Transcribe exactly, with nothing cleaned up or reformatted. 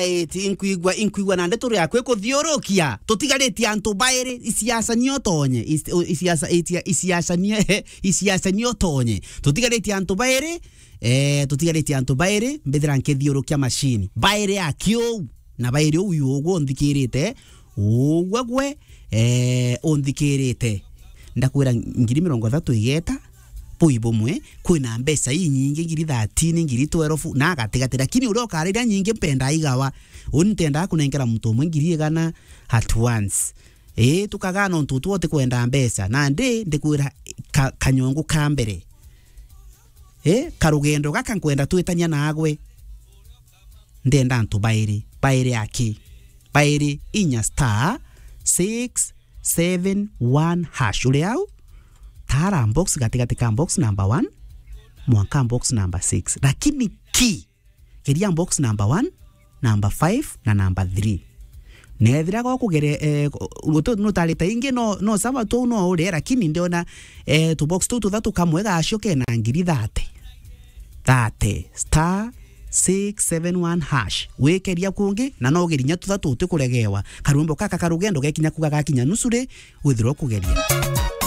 Iti, inkwigua, inkwigua na ndeto riaku ikuthiurukia. Tutigaritie antu bairi, isiaca nio tonye, is-, o, isiaca, itia, isiaca nio, isiaca nio tonye. Tutigaritie antu bairi, eh, tutigaritie antu bairi, mbithira nkithiurukia machine. Bairi aki uu, na bairi uu ugwe unthikirite, ugwe gwe, eh, unthikirite. Ndakwira ngiri mirongo ithatu igeta, bui bumwe, kwina mbeca inyingi, ngiri thirteen, ngiri twelve, na gatigati. Lakini uria ukarira nyingi mpenda igawa. Uni ntendaa kunenkera muntu umwe ngiri igana at once. Ii, tukagaa nontu tu utikwenda mbeca. Nandi ndikwira ka-, kanyongo ka mbere. Ii, karugendo gaka nkwenda twitania nagwe. Ndenda antu bairi. Bairi aki? Bairi inya star six seven one hash. Uri au? Tara box gatigati ka box number one mwanka box number six. Lakini ki, geria box number one, number five na number three. Nethira gokugere, eh, utu nutarite ingi no, no sawa tu no uri, lakini ndiona, eh, tu box tu tuthatu kamwe gacio kena ngiri thirty. Thirty, star six seven one hash. Wikeria kungi, na no ugerinya tuthatu utikuregewa. Karwimbo kaka karugendo gekinya kuga gakinya nusu ri, withirwa kugeria.